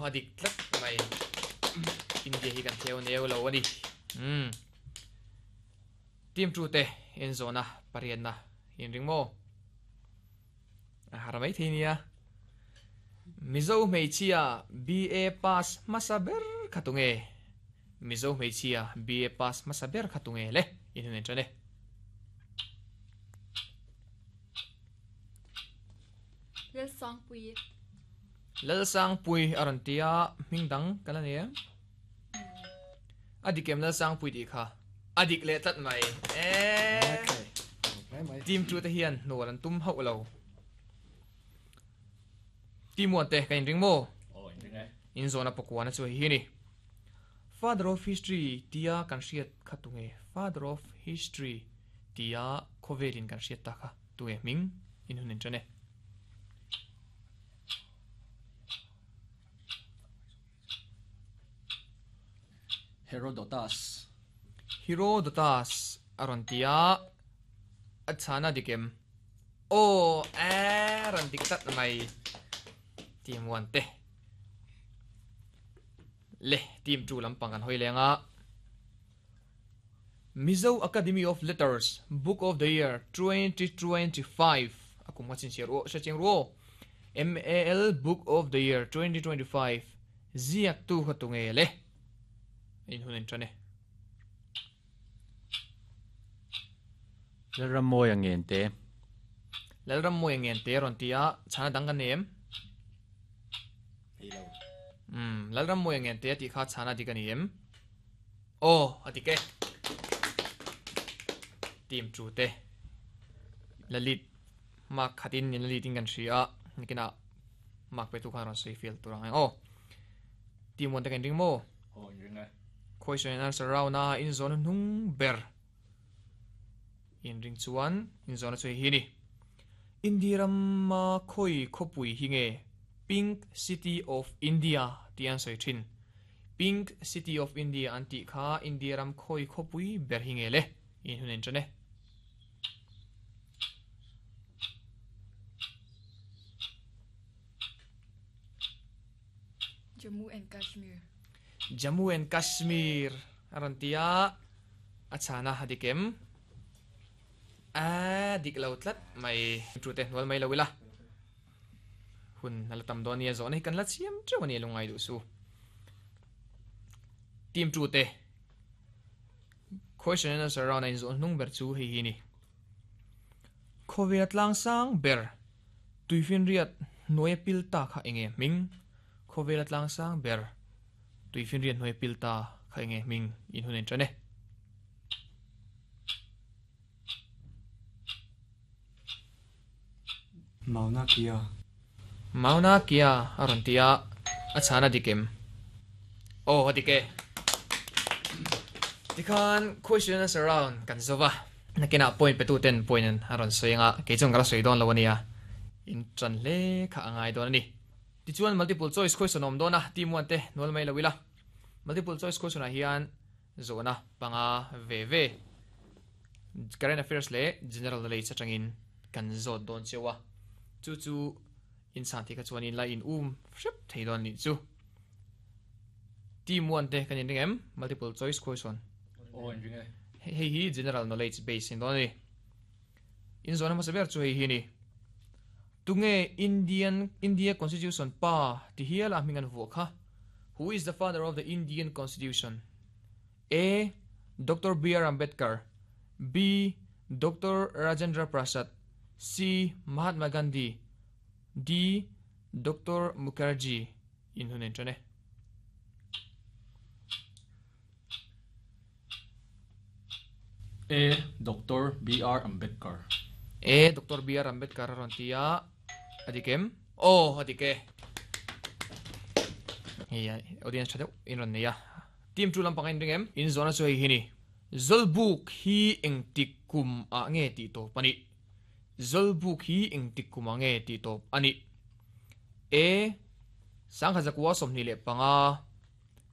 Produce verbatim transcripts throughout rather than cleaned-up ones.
Adik tlat mai. India hi kan theo neu lo ani. Hmm. Team two te in zona parian na in ring mo. Haramai theinia. Mizo hmeichhia B A pass hmasa ber kha tunge. Mizo hmeichhia B A pass hmasa ber kha tunge le in hun en tane. Lal Sang Pui. Lal Sang Pui arantia mingdang kana ne. Adikem Lal Sang Pui di kha. Adik le tlat mai. Eh. Team two te hian nualan tum hau lo. Team one te kain ring mo. Oh, in ring e. In zona pakwana chu hi ni. Father of history tia kan hriat kha tunge. Father of history tia khovelin kan hriat ta kha tunge ming in hunin chane. Herodotus. Herodotus arontia achana dikem. Oh, aron diktat mai. Team one te. Le team two lampang kan hoilenga. Mizo Academy of Letters Book of the Year twenty twenty-five. Akum wachin share o searching ro. M A L Book of the Year twenty twenty-five. Ziak tu khatunge le. In hunin chane. Lalram moy angen te. Lalram moy angen te ron tia chana dang kan nem. Hmm, Lalram moy angen te ti kha chana di kan em. Oh, atike. Team two te. Lalit mak khatin ni lalit in kan ria nikina mak pe tu khan ron sei field turang. Oh. Team one te kan ring mo. Oh, in ring e. Question and answer round na in zone nung ber. In ring chuan in zone chu hi ni. Indiram ma khoi khopui hinge Pink City of India tian soi thin. Pink City of India anti kha Indiaram khoi khopui ber hinge le in hunen chane. Jammu and Kashmir. Jammu and Kashmir arantia achana hadikem. A dik lo tlat mai tu te hnual mai lawila. Hun nalatam donia zo nei kan la chiam chawani lungai du su. Team two te. Question and answer round in zo nung ber chu hi hi ni. Khovet lang sang ber tuifin riat noi pil ta kha enge ming. Khovet lang sang ber tuifin riat noi pil ta kha enge ming in hunen chane. Mauna Kea. Mauna Kea arantia achana dikem. Oh, adike. Dikhan question and answer round kan zova. Nakina point pe tu ten point an aron soinga ke chung kala soidon lawania. In chan le kha angai don ani. Ti chuan multiple choice question om dona team one te nol mai lawila. Multiple choice question a hian zona panga ve ve. Current affairs le general knowledge atangin kan zot don chewa. Chu chu in san ti ka chuan in la in um hrep thei don ni chu. Team one te kan in ring em multiple choice question. Oh, in ring e. Hei hi general knowledge base in don ni. In zona ma saber chu hei hi ni. Tunge Indian India Constitution pa ti hiala mingan vu kha. Who is the father of the Indian Constitution? A. Doctor B R Ambedkar. B. Doctor Rajendra Prasad. C. Mahatma Gandhi. D. Doctor Mukherjee. In hunen chane. A. Doctor B R Ambedkar. A. Doctor B R Ambedkar rontia. Adikem. Oh, adike. Hey, audience chadeu in ron neya. Team two lampang in ringem in zona chu hei hi ni. Zolbuk hi eng tik kum a nge ti to pani. Zolbuk hi eng tik kum a nge ti to ani. A. Sangha zakwa somni le panga.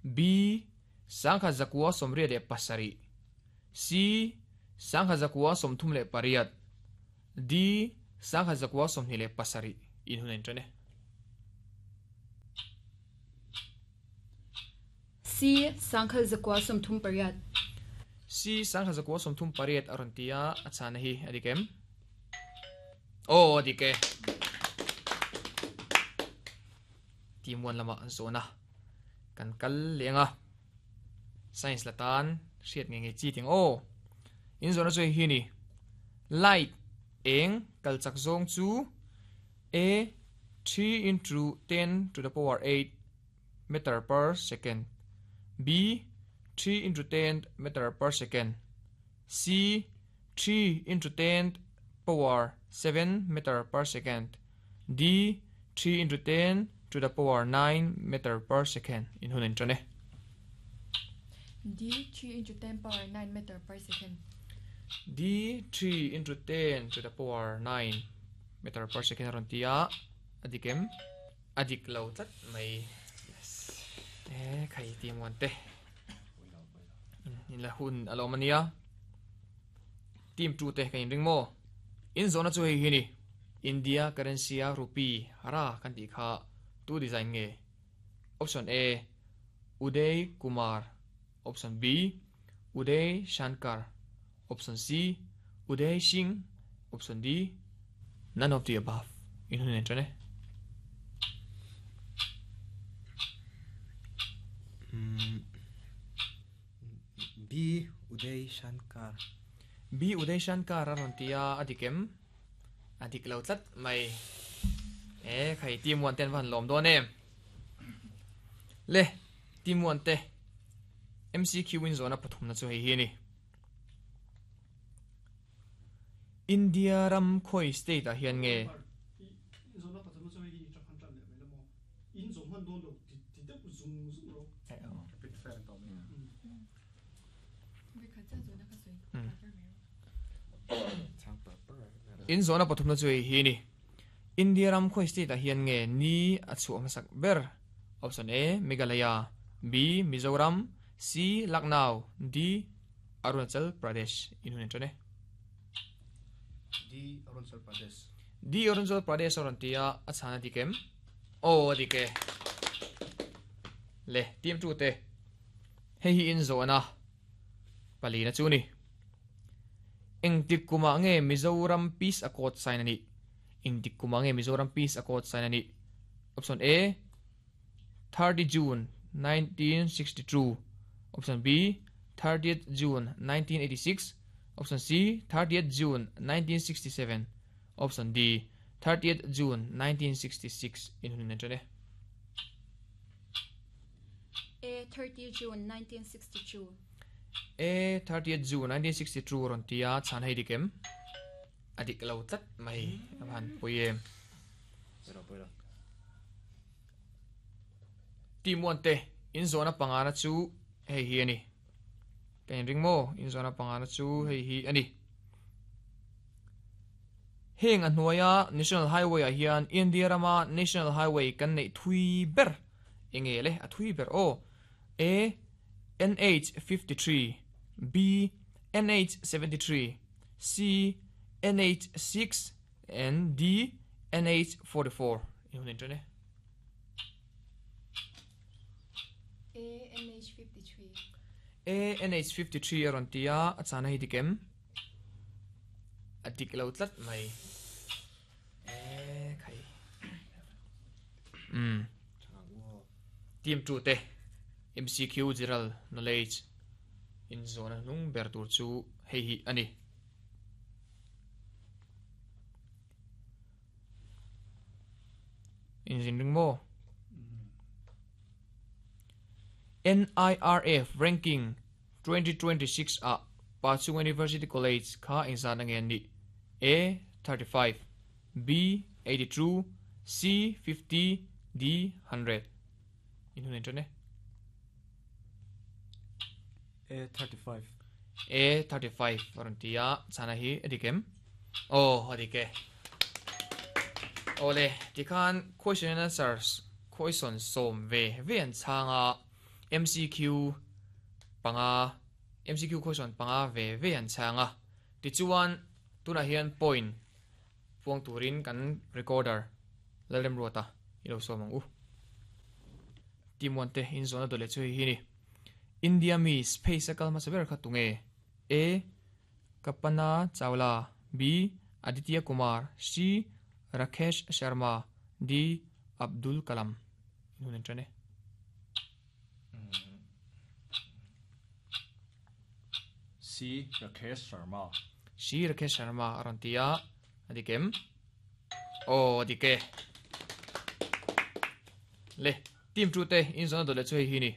B. Sangha zakwa somri le pasari. C. Sangha zakwa somthum le pariat. D. Sangha zakwa somni le pasari. In hunen chane. C sangkhal zakwa somthum pariat. C sangkhal zakwa somthum pariat arontia achana hi adikem. Oh adike. Team one lama zona kan kal lenga science latan hriat nge nge chi ting o in zona chu hi ni light eng kal chak zong chu a three into ten to the power eight meter per second, b three into ten meter per second, c three into ten power seven meter per second, d three into ten to the power nine meter per second. In hun in chane D three into ten power nine meter per second. D three into ten to the power nine meter per second rontia adikem adik lo tlat mai. Yes eh khai team one te in la hun alomania team two te kain ring mo in zona chu hei hi ni India currency a rupee hara kan ti kha tu design nge. Option A Uday Kumar, option B Uday Shankar, option C Uday Singh, option D none of the above. In hun chane B Uday Shankar. B Uday Shankar arontia adikem adik lo tlat mai. Eh khai team one ten van lom do nem le team one te M C Q win zona pathum na chu hei hi ni India ram khoi state a hian nge zona pathum chu hei hi chakhan tan le mai lamo in zong han don lo ti ti de zung zung ro big fan to me. In zona pathum na chu hei hi ni India ram khoi state a hian nge ni a chu masak ber. Option A Meghalaya, B Mizoram, C Lucknow, D Arunachal Pradesh. In hun chane D Arunachal Pradesh. D Arunachal Pradesh arontia achana dikem. Oh dike le team two te hei hi in zona pali na chu ni eng tik kuma nge Mizoram Peace Accord sign ani eng tik kuma nge Mizoram Peace Accord sign ani. Option A thirty June nineteen sixty-two, option B thirtieth June nineteen eighty-six, option C thirtieth June nineteen sixty-seven, option D thirtieth June nineteen sixty-six. In hun chane A thirtieth June nineteen sixty-two. A thirtieth June nineteen sixty-two rontia chan hei dikem adik lo tlat mai aban poiem. Team one te in zona pangana chu hei hi ani kain ring mo in zona pangana chu hei hi ani heng a hnuaia National Highway a hian India rama National Highway kan nei thui ber enge le a thui ber o A N H fifty-three, B N H seventy-three, C N H six and D N H forty-four. In hun chane A N H fifty-three. A N H fifty-three arontia achana hi dikem adik lo tlat mai. Eh khai um team two te M C Q general knowledge in zona nung ber tur chu hei hi ani in zin ring mo N I R F ranking twenty twenty-six a Pachung University College kha engzan angen ni A thirty-five, B eighty-two, C fifty, D one hundred. In hun chane A thirty-five. A thirty-five arontia chana hi adikem. Oh adike ole tikhan question and answers question som ve ve an changa M C Q panga M C Q question panga ve ve an changa ti chuan tuna hian point puang turin kan recorder lalem rota ilo somang u team one te in zona dole chu hi ni India mi space akal ma saber kha tunge A Kapana Chawla B Aditya Kumar C Rakesh Sharma D Abdul Kalam nunen trane C Rakesh Sharma C Rakesh Sharma arantia adikem o adike le team two te in zona dole chu hi ni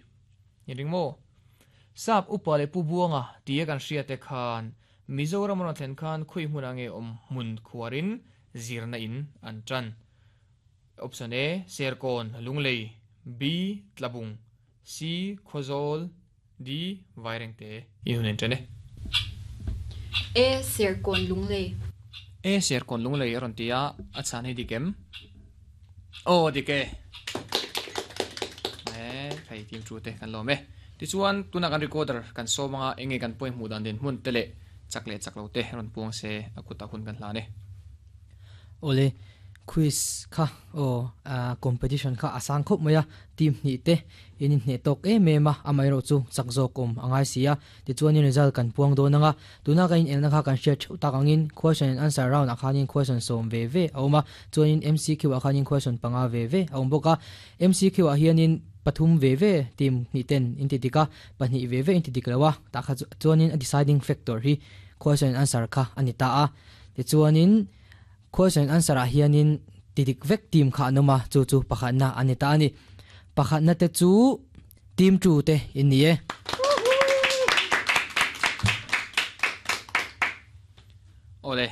ni ringmo sap upale pu buanga tie kan hria te khan Mizoram ron thlen khan khui hmunange om mun khuarin zirna in an tran option A Serkon Lunglei B Tlabung C Khozol D Vairengte i hunen trane A Serkon Lunglei A Serkon Lunglei ron tia a chan hi dikem o dike e khai team two te kan lome ti chuan tuna kan recorder kan so manga enge kan point mu dan den mun tele chakle chaklo te ron puang se akuta hun kan hlane ole quiz kha o competition kha asang khop maya team ni te in hne tok e me ma amai ro chu chakzo kom angai sia ti chuan in result kan puang do nanga tuna ka in elna kha kan share theu takangin question and answer round akhanin question som ve ve auma chuan in M C Q akhanin question panga ve ve aum boka M C Q a hianin pathum ve ve team ni ten in ti tika pahnih ve ve in ti diklawa ta kha chuan in a deciding factor hi question and answer kha ani ta a ti chuanin question answer a hianin tidik vek team kha anoma chu chu pakhat na ani ta ani pakhat na te chu team two te in ni e ole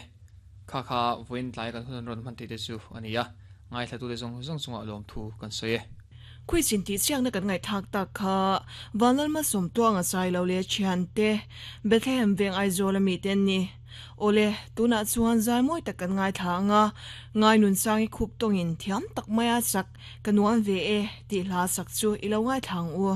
kha kha voin tlai kan hun ron man te te chu ania ngai thla tu te zong zong chunga lom thu kan soye คุยสินตีเชียงนักไงทักตักค่ะวันนั้นมาสมตัวงาใจเราเลยเชียนเตเบทเฮมเวงไอโซลมีเตนนี่โอเลตัวน่ะชวนใจมวยตักกันไงทางอ่ะไงนุนสร้างคุบตรงอินเทียมตักไม่อาสักกันวันเวเอตีลาสักจูอีเลวไงทางอัว